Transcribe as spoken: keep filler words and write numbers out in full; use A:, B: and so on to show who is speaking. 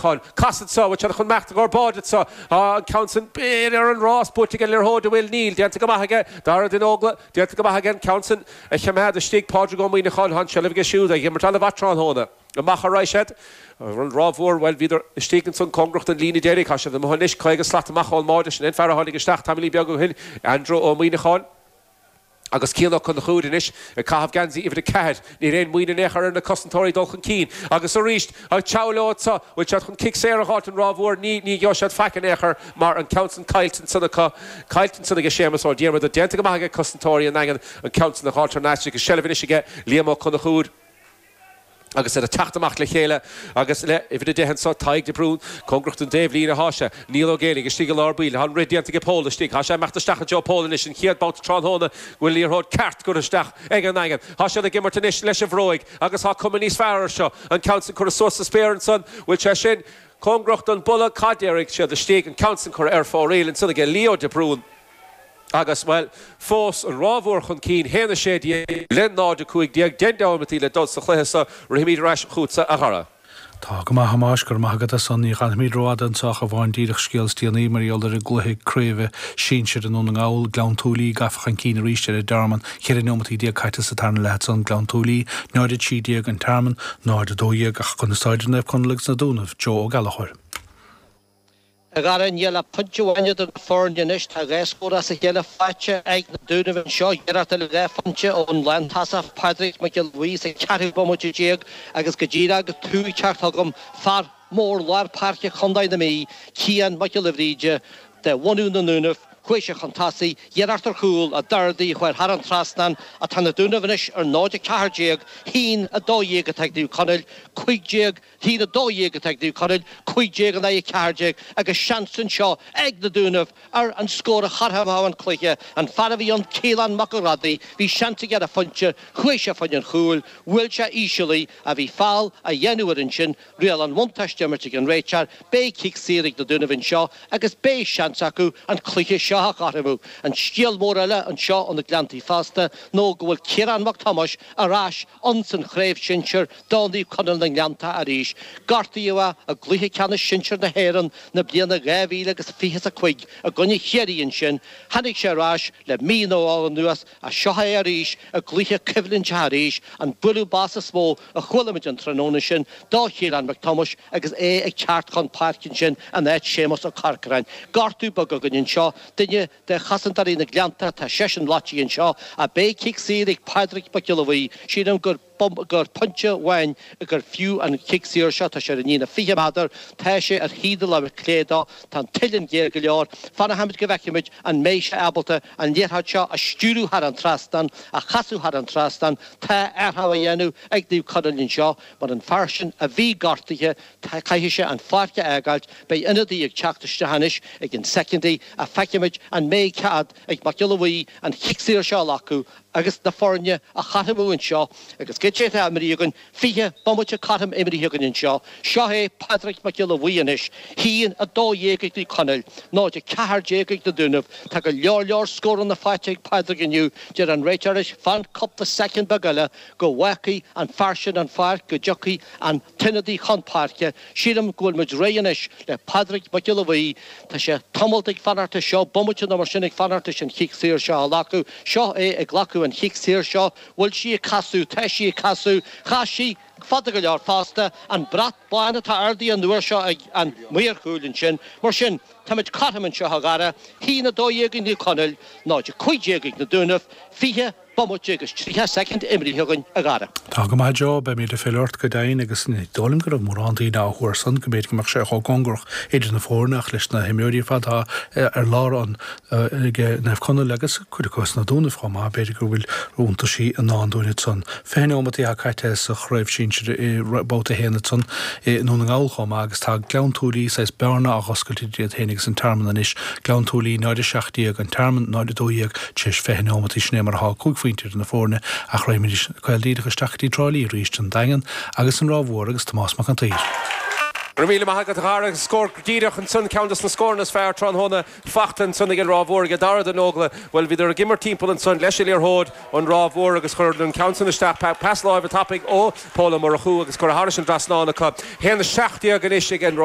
A: Muineacháin. Casadh anseo, bhfuil siad chun imeacht i gcomhair báide anseo? Tá an ceann san b'fhéidir ar an rás buaite ag an liathróid, an bhfuil? Níl. Déanta go maith aige Dara de Nógla. Déanta go maith aige an ceann san a choimeád istigh. Pádraig Ó Muineacháin, tá an tseilbh aige siúd, ag imirt an-mhaith tráthnóna. Amach a raghaidh siad. An Ráth Mhór, bhuel, bhíodar istigh ansan cóngarach don líne deiridh. Tá siad amuigh anois, caoga slat amach ón mbáide. Sin é an fear a tháinig isteach tamaillín beag ó shin, Andrew Ó Muineacháin. Agus Cian Ó Conchúir anois ag caitheamh geansaí uimhir a ceathair. Níl aon mhoill in aon chor ar na cosantóirí dul chun cinn. Agus arís, ag teagmháil leo anseo, bhfuil siad chun cic saor a dh'fháilt an Ráth Mhór? Ní, ní gheobhaidh siad faic in aon chor mar an ceann san caillte ansan acu. Caillte ansan aige Séamus Ó Diarmada. Déanta go maith aige cosantóirí an Daingin an ceann san a dh'fháilt thar n-ais agus seilbh anois aige Liam Ó Conchúir. Agus iad ag teacht amach le chéile agus le uimhir a deich anso, Tadhg de Brún, cóngarach don dtaobhlíne athá sé. Niall Ó Géibheannaigh istigh i lár baill. Tá an rith déanta aige Pól istigh. Tá sé ag imeacht isteach i dtreo Pól anois, an chéad babhta tráthnóna go bhfuil liathróid ceart curtha isteach ag an nDaingean. Tá siad ag imirt anois leis an bhróig agus tá cuma níos fearr air seo. An ceann san curtha suas sa spéir ansan, bhfuil sé sin cóngarach don bpolla? Cad déarfaidh siad istigh? An ceann san curtha ar fóraoil ansan aige Leo de Brún. Agus, bhuel, fós an Ráth Mhór chun cinn, haon a sé déag le náid a cúig déag, deich neomataí le dul sa chluiche seo. Rithimid ar ais chugatsa, a Dhara.
B: Tá go maith, a Thomáis, go raibh maith agat as san. Ní fhanfaimid rófhada anseo ach amháin díreach scéal is déanaí mar gheall ar an gcluiche craoibhe sinsir i nDún na nGall, Gleann tSúilí gafa chun cinn arís ar an dTearmann. Ceithre neomataí déag caite sa tarna leath ansan, Gleann tSúilí, náid a trí déag, An Tearmann, náid a dó dhéag ach conas tá idir Naomh Conaill agus na Dúnaibh, Joe Ó Gallchóir.
C: A Dhara, níl ach pointe amháin idir na foirne anois. Tá dhá scór as a chéile faighte ag na Dúnaibh anseo. Iarracht eile dhá phointe ón lántosach Pádraig Mac Giolla Bhuí sa cheathrú bomaite déag agus go díreach agus tú ag teacht chugam, fear mór lár páirce chontae na Mí, Cian Mac Giolla Bhríde, de bhunadh na nDúnaibh, chuaigh sé chun tosaigh, iarracht ar chúl, a d'ardaigh, chuir thar an trasnán. Ach tá na Dúnaibh anois ar náid a ceathair déag, haon a dó dhéag atá ag Naomh Conaill, cúig déag. haon a dó dhéag atá ag Naomh Conaill, cúig déag in aghaidh a ceathair déag agus seans anseo ag na Dúnaibh ar an scór a chothromódh an cluiche. An fear a bhí ann, Caolán Mac an Ghrádaigh, bhí seans aige ar a phointe, chuaigh sé fá choinne an chúil, bhuail sé íseal í, ach bhí feall á dhéanamh air ansin, riail an bhuntáiste imirt ag an réiteoir, beidh cic saor ag na Dúnaibh anseo agus beidh seans acu an cluiche seo a chothromú. An scéal mór eile anseo ó na Gleanntaí fosta nó go bhfuil Ciarán Mac Tomáis ar ais ins an chraobh shinsir do Naomh Conaill na nGleannta arís. Gortaíodh é i gcluiche ceannais sinsir na hÉireann na bliana dhá mhíle agus fiche is a cúig i gcoinne Chiarraí ansin. Tháinig sé ar ais le mí nó dhó anuas ach seo é arís i gcluiche coimhlinteach arís, an bualadh bos is mó a chuala muid an tráthnóna sin do Chiarán Mac Tomáis agus é ag teacht chun páirce ansin in áit Séamus Ó Corcoráin. Gortú beag againn anseo, duine de chosantóirí na nGleannta, tá seisean loitithe anseo ach beidh cic saor ag Pádraig Mac Giolla Bhuí. Sílim gur gur pointe amháin gur fiú an cic saor seo. Tá sé ar an líne fiche méadar. Tá sé ar thaobh na láimhe clé dó. Tá an tsuillinn géar go leor. Fanfaimid go bhfeicfimid an mbeidh sé ábalta an liathróid seo a stiúradh thar an trasnán, a chasadh thar an trasnán. Tá athrú á dhéanamh ag Naomh Conaill anseo mar an fear sin a bhí gortaithe, caithfidh sé an pháirc a fhágáilt. Beidh ionadaí ag teacht isteach anois ag an soicind ach feicfimid an mbeidh cead ag Mac Giolla Bhuí an chic saor seo a ghlacadh agus na foirne a chothromú anseo agus goidé atá imrithe againn, fiche bomaite cothrom imrithe againn anseo. Seo é Pádraig Mac Giolla Bhuí anois, haon a dó dhéag ag Naomh Conaill, náid a ceathair déag ag na Dúnaibh. Tá go leor leor scóranna faighte ag Pádraig inniu, deir an réiteoir leis, fan cúpla soicind beag eile go bhfágfaidh an fear sin an pháirc, go dtiocfaidh an t-ionadaí chun páirce. Sílim go bhfuil muid réidh anois le Pádraig Mac Giolla Bhuí. Tá sé tamalt ag fanacht leis seo, bomaite nó mar sin ag fanacht leis an chic saor seo a ghlacadh. Seo é ag glacadh an chic saor seo. Bhfuil sí ag casadh? Tá sí ag casadh. Chas sí fada go leor fosta. An brat bán atá ardaithe an uair seo ag an maor cúil ansin. Mar sin, táimid cothrom anseo, a Dhara. Haon a dó dhéag ag Naomh Conaill, náid a cúig déag ag na Dúnaibh, fiche. Bomaite agus tríocha soicind imrithe againn, a Dhara.
B: Tá go maith, Joe, beimid ag filleadh ort go deimhin agus ní dóigh liom go raibh mórán daoine á thuar san go mb'fhéidir go mbeadh sé chomh cóngarach idir na foirne ach leis na himreoirí ar fad atá ar lár an ag Naomh Conaill agus cuid acu sna Dúnaibh chomh maith, b'fhéidir go bhfuil iontaisí i ndán dúinn ansan. Fiche neomat atá caite sa chraobh sinsir i mbabhta a haon ansan i nDún na nGall chomh maith agus tá Gleann tSúilí saghas bearna á dh'oscailt idir iad féin agus an Tearmann anois, Gleann tSúilí náid a seacht déag, An Tearmann náid a dó dhéag tar éis fiche neomat. Sin é mar atá, cúig phointe idir na foirne ach raghaimid caol díreach isteach go dtí Trá Lí arís, an Daingean agus an Ráth Mhór agus Tomás Mac an tSaoir.
A: Go raibh míle maith agat a Dhara agus scór díreach ansan, ceann dos na scóranna is fearr tráthnóna fachta ansan ag an Ráth Mhór ag Dara de Nógla. Bhuel bhíodar ag imirt timpeall ansan leis an liathróid an Ráth Mhór agus chuir an ceann san isteach, pas láimhe tapaidh ó Pól Ó Murchú agus curtha thairis an dtrasnán acu. Haon a seacht déag anois ag an Ráth.